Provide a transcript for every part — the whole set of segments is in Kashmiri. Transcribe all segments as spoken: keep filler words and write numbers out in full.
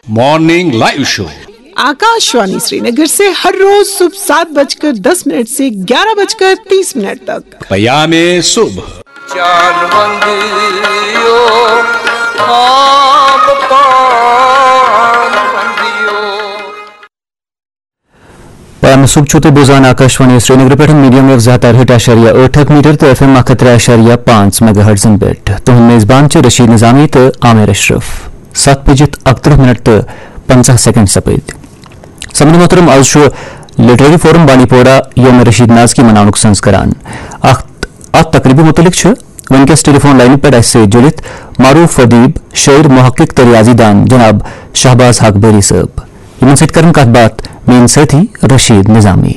Morning live show. Akashvani Srinagar سے ہر روز صبح سات بج کر دس منٹ سے گیارہ بج کر تیس منٹ تک۔ پیام صبح۔ جان وندیو، خواب پان وندیو۔ پیام صبح چھو تُہۍ بوزان آکاش وانی سری نگر پٮ۪ٹھ میڈیم ویو زٕ ہتھ تہٕ ٲٹھ اعشاریہ ٲٹھ میٹر تہٕ ایف ایم اکھ ہتھ ترٛےٚ اعشاریہ پانٛژھ میگا ہرٹزن پٮ۪ٹھ۔ تُہُنٛد میزبان چھُ رشید نظامی تہٕ عامر اشرف۔ ستھ بجِتھ اکترٕہ منٹ تہٕ پنٛژاہ سیکنڈ سپٕدۍ۔ سمجھن محترم، آز چھُ لٹریری فورم بانڈی پورہ یوم رشید نازکی مناونُک سنز کران۔ اکھ، اتھ تقریبہِ متعلق چھُ وٕنکیٚس ٹیلی فون لاینہِ پٮ۪ٹھ اسہِ سۭتۍ جُڑِتھ معروف ادیب، شٲعر، محقق تہٕ ریاضی دان جناب شہباز حق بری صٲب۔ یِمن سۭتۍ کرن کتھ باتھ میٲنۍ سٲتھی رشید نظامی۔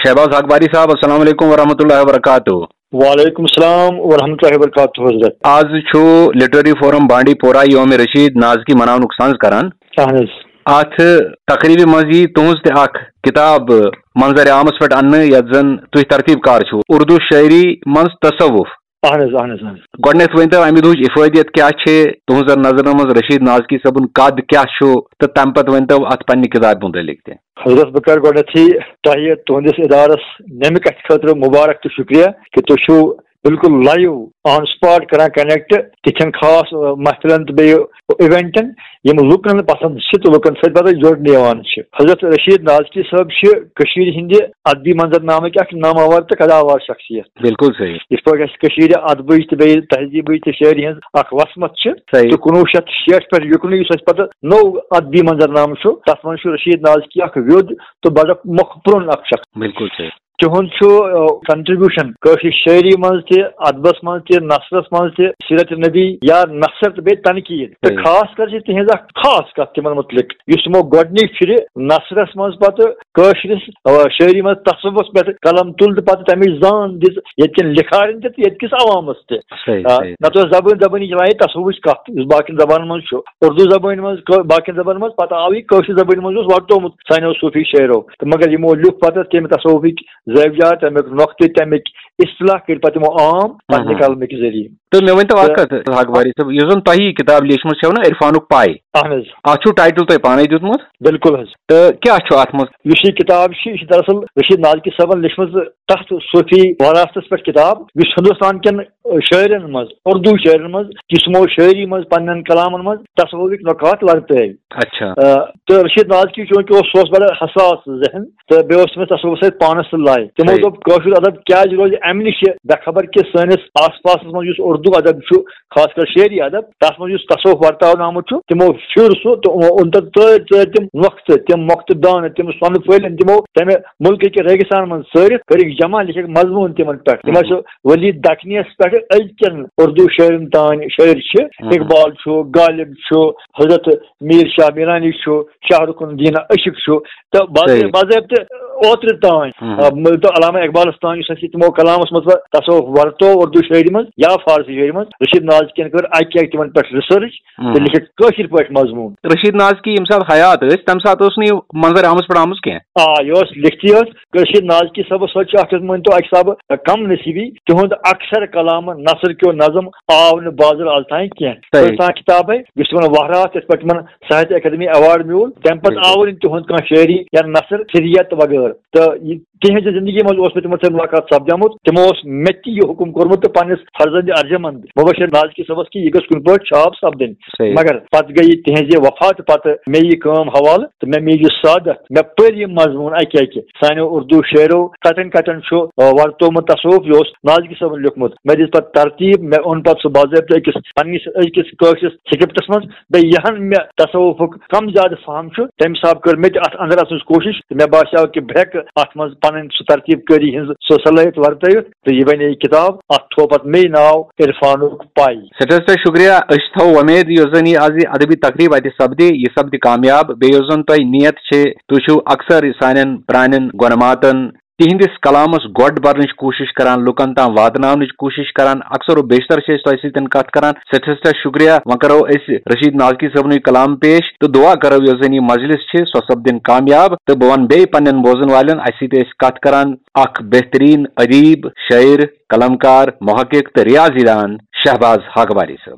شہباز حق باری صاحب، السلام علیکم ورحمۃ اللہ وبرکاتہ۔ وعلیکم السلام ورحمۃ اللہ وبرکاتہ حضرت۔ آز چھُ لٹریری فورم بانڈی پورہ یوم رشید نازکی مناونُک سنز کران۔ اہن حظ۔ اتھ تقریبہِ منٛز یی تُہنٛز تہِ اکھ کتاب منظر عامس پٮ۪ٹھ اننہٕ، یتھ زن تُہۍ ترتیب کار چھِو، اردو شٲعری منٛز تصوف۔ اہن حظ، اہن حظ، اہن حظ۔ گۄڈٕنیتھ ؤنۍتو امہِ دُہٕچ افٲدیت کیٛاہ چھِ، تُہنٛزن نظرن منٛز رشید نازکی صٲبُن قد کیٛاہ چھُ، تہٕ تمہِ پتہٕ ؤنۍتو اتھ پننہِ کتابہِ مُتعلق تہِ۔ حضرت، بہٕ کرٕ گۄڈٕنیتھٕے تۄہہِ تُہنٛدِس ادارس نمہِ کتھِ خٲطرٕ مبارک تہٕ شُکریہ کہِ تُہۍ چھِو بالکل لایو آن سپاٹ کران کنیکٹ تِتھٮ۪ن خاص، آ، محفلن تہٕ بیٚیہِ ایونٹن، یِم لُکن پسند چھِ تہٕ لُکن سۭتۍ پتہٕ جوڑنہٕ یِوان چھِ۔ حضرت رشید نازکی صٲب چھِ کٔشیٖرِ ہٕنٛدِ ادبی منظرنامٕکۍ اکھ ناماوار تہٕ قداوار شخصیت۔ بالکل صحیح۔ یِتھ پٲٹھۍ اَسہِ کٔشیٖرِ ادبٕچ تہٕ بیٚیہِ تہذیٖبٕچ تہٕ شٲعری ہٕنٛز اکھ وسمت چھِ، صحیح۔ تہٕ کُنوُہ شیٚتھ شیٹھ پٮ۪ٹھ یُکنُے یُس اَسہِ پتہٕ نوٚو ادبی منظرنامہٕ چھُ، تتھ منٛز چھُ رشید نازکی اکھ ویوٚد تہٕ بڑٕ مۄکھ پرٛون اکھ شخص۔ بالکل صحیح۔ تِہُنٛد چھُ، آ، کنٹریبیوشن کٲشرِ شٲعری منٛز تہِ، ادبس منٛز تہِ، نثرس منٛز تہِ، سیرت نبی یا نثر تہٕ بیٚیہِ تنقید۔ تہٕ صحیح۔ خاص کر چھِ تِہنٛز اکھ خاص کتھ تِمن مُتعلق، یُس تِمو گۄڈٕنِچ پھِرِ نثرس منٛز پتہٕ کٲشرِس، آ، شٲعری منٛز تصوفس پٮ۪ٹھ قلم تُل تہٕ پتہٕ تمِچ زان دِژ ییٚتہِ کٮ۪ن لِکھارٮ۪ن تہِ تہٕ ییٚتہِ کِس عوامس تہِ۔ صحیح، آ، صحیح۔ نتہٕ ٲس زبٲنۍ زبٲنی چلان یہِ تصوفٕچ کتھ، یُس باقین زبانن منٛز چھُ، اردو زبٲنۍ منٛز، کٲ-، باقین زبانن منٛز، پتہٕ آو یہِ کٲشرِ زبٲنۍ منٛز، اوس ورتومُت سانیو صوفی شٲعرو۔ تہٕ مگر یِمو لیوٗکھ پتہٕ تمہِ تصوفٕکۍ زٲویات، تمیُک نۄقطہٕ، تمیُک اصطلاح کٔرۍ پتہٕ یِمو عام پننہِ ہاں۔ قلمہٕ کہِ ذٔریعہٕ۔ تہٕ مےٚ ؤنۍ تو اکھ تہٕ کتھ، حق باری صٲب، یُس زن تۄہہِ یہِ کِتاب لیٖچھمٕژ چھَو نا، عرفانُک پاے، اہن حظ۔ اتھ چھُو ٹائٹل تۄہہِ پانے دیُتمُت۔ بالکل حظ۔ تہٕ کیٛاہ چھُ اتھ منٛز؟ یُس یہِ کِتاب چھِ، یہِ چھِ دراصل رشید نازکی صٲبن لیٖچھمٕژ تتھ صوفی وراثتس پٮ۪ٹھ کِتاب، یُس ہندوستان کٮ۪ن شٲعرن منٛز، اردو شٲعرن منٛز، یُس یِمو شٲعری منٛز پننٮ۪ن کلامن منٛز تصوفٕکۍ نکات ورتٲوۍ۔ اچھا۔ آ، تہٕ رشید نازکی چونکہ اوس، سُہ اوس بڑٕ حساس ذہن، تہٕ بیٚیہِ اوس تٔمِس تصوفس سۭتۍ پانس سۭتۍ لایق۔ تِمو صحیح۔ دوٚپ، کٲشُر ادب کیازِ روزِ امہِ نِشہِ بے خبر کہِ سٲنِس آس پاسس منٛز یُس اردو ادب چھُ، خاص کر شعری ادب، تتھ منٛز یُس تصوف ورتاونہٕ آمُت چھُ، تِمو پھِر سُہ تہٕ یِمو اوٚن تتھ ژٲرۍ ژٲرۍ تِم نۄقطہٕ، تِم مۄقطہٕ دانہٕ، تِم سۄنہٕ پھٔلۍ أنۍ تِمو تمہِ مُلکہٕ کہِ ریگستان منٛز ژٲرِتھ، کٔرِکھ جمع، لیکھِکھ مضموٗن تِمن پٮ۪ٹھ۔ تِم ہُم۔ ٲسۍ ؤلی دکنیس پٮ۪ٹھ أزکٮ۪ن اردو شٲعرن تام شٲعر چھِ۔ ہُم۔ اقبال چھُ، غالب چھُ، حضرت میر شاہ میرانی چھُ، شاہ رخ الدین عاشق چھُ، تہٕ باضٲ-، صحیح۔ باضٲبطہٕ اوترٕ تام، ہُم۔ آ، مٲنۍ تو علامہ اقبالس تام یُس اَسہِ تِمو کلامس منٛز تصوف ورتو اردو شٲعری منٛز یا فارسی شٲعری منٛز، رشید نازکین کٔر اکہِ اکہِ تِمن پٮ۪ٹھ ریسرچ تہٕ ہُم۔ لیکھِکھ کٲشِر پٲٹھۍ مضموٗن۔ رشید نازکی ییٚمہِ ساتہٕ حیات ٲسۍ، تَمہِ ساتہٕ اوس نہٕ یہِ منظر عامس پٮ۪ٹھ آمُت کینٛہہ۔ آ، یہِ اوس لیکھتٕے یوت۔ رشید نازکی صٲبس سۭتۍ چھُ اکھ، مٲنۍ تو اکہِ حسابہٕ کم نصیٖبی، تِہُنٛد اکثر کلام نثر کیو نظم آو نہٕ بازر از تام کینٛہہ۔ صحیح۔ کٔژ تام کِتابے، یُس تِمن وہرات، یِتھ پٲٹھۍ تِمن ساہتیہ اکیڈمی ایوارڈ میوٗل، تَمہِ پتہٕ بِلکُل۔ آو نہٕ تِہُنٛد کانٛہہ شٲعری یا نثر سریت وغٲرٕ۔ تہٕ یہِ تِہنٛزِ زندگی منٛز اوس مےٚ تِمن سۭتۍ مُلاقات سپدیمُت۔ تِمو اوس مےٚ تہِ یہِ حُکم کوٚرمُت تہٕ پننِس فرزند ارجمند مبشر نازکی صٲبس کہِ یہِ گٔژھ کُنہِ پٲٹھۍ چھاپ سپدٕنۍ۔ صحیح۔ مگر پتہٕ گٔیہِ تِہنٛزِ وفاتہٕ پتہٕ مےٚ یہِ کٲم حوالہٕ تہٕ مےٚ میج یہِ سعادت۔ مےٚ پٔرۍ یہِ مضموٗن اکہِ اکہِ۔ سانیو اردو شٲعرو کتٮ۪ن کتٮ۪ن چھُ، آ، ورتومُت تصوف، یہِ اوس نازکی صٲبن لیوٚکھمُت۔ مےٚ دِژ پتہٕ ترتیٖب، مےٚ اوٚن پتہٕ سُہ باضٲبطہٕ أکِس پننِس أزکِس کٲشرِس سکرپٹس منٛز۔ بیٚیہِ یِہن مےٚ تصوفُک کم زیادٕ فہم چھُ، تمہِ حساب کٔر مےٚ تہِ اتھ اندر اژنٕچ کوٗشش تہٕ مےٚ باسیو کہِ بہٕ ہیٚکہٕ اتھ منٛز پنٕنۍ سُہ ترتیٖب کٲری ہٕنٛز سۄ صلٲحیت ورتٲوِتھ، تہٕ یہِ بنے یہِ کِتاب۔ اتھ تھوو پتہٕ مے ناو عرفانُک پاے۔ سٮ۪ٹھاہ سٮ۪ٹھاہ شُکریہ۔ أسۍ چھِ تھاوو وۄمید یۄس زن یہِ از یہِ ادبی تقریب اتہِ سپدِ، یہِ سپدِ کامیاب۔ بیٚیہِ یۄس زن تۄہہِ نیت چھِ، تُہۍ چھِو اکثر سانٮ۪ن پرانٮ۪ن گۄنماتن تِہنٛدِس کلامس گۄڈ برنٕچ کوٗشش کران، لُکن تام واتناونٕچ کوٗشش کران۔ اکثر و بیشتر چھِ أسۍ تۄہہِ سۭتۍ کتھ کران۔ سٮ۪ٹھاہ سٮ۪ٹھاہ شُکریہ۔ وۄنۍ کرو أسۍ رشید نازکی صٲبنُے کلام پیش تہٕ دعا کرو یۄس زن یہِ مجلس چھِ سۄ سپدِن کامیاب۔ تہٕ بہٕ ونہٕ بیٚیہِ پننٮ۪ن بوزن والٮ۪ن، اسہِ سۭتۍ ٲسۍ کتھ کران اکھ بہترین ادیب، شٲعر، قلمکار، محقق تہٕ ریاضی دان شہباز حق باری صٲب۔